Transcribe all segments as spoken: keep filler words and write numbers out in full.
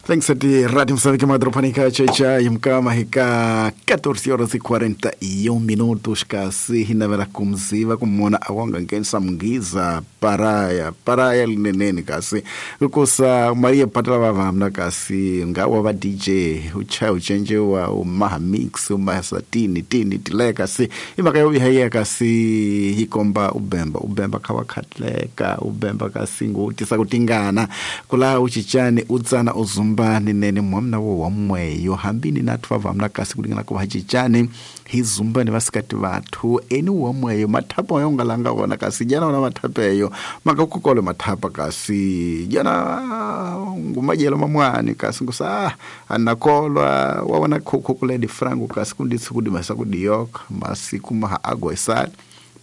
Thanks Rádio Moçambique Madropanica Checha Imkama hika catorze horas e quarenta e um minutos kasi hinavela kumziva kumona awanga ngensa mngiza paraya paraya lineneni kasi kukosa Maria Patala vamna kasi ngawa va D J ucha uchenje wa umaha mix umaha satini tini tile kasi imaka yobi haya kasi hikomba ubemba ubemba kawakatleka ubemba kasi ngutisa kutingana kula uchichani utsana uzumba ninene mwamna wo wamweyo hambini nathu vamna kasi kulingana ku hachichani hizumba ni vasikati vathu eni wamweyo mathapa yo ngalanga wona kasi jana ona mathapa eyo makakukole mathapa kasi jana ngumajelo mamwani kasi ngusa anakolwa waona khukhukule di frango kasi kunditsi kudimasa kudiyoka masiku maha agwesali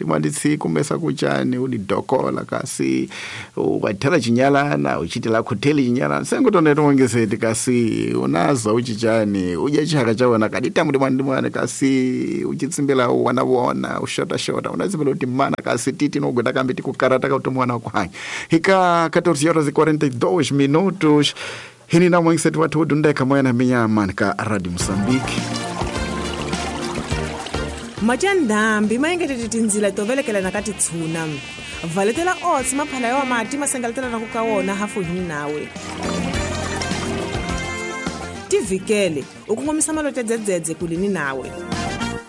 limanditsi kumesa kuchani udidokola kasi ukathela chinyalana uchitela khoteli chinyalana sengutoneta wongeseti kasi unaza uchichani udya chihaka chawona kadita mudimwanimwane kasi uchitsimbila wana wona ushota shota unatsimbila uti mana kasi titi nogweta kambi tikukarata kautomwana kuhanya hika catorze horas e quarenta e dois minutos hini na mwengeseti wathu udundeka moyana minyama ka Radio Moçambique. Machandambi mayengetete tindzila to velekelana ka titshuna valetela oats maphala ya mati masengeletela ku ka wona hafu hini nawe tivikele u kongomisa malote dzedzedze kulini nawe.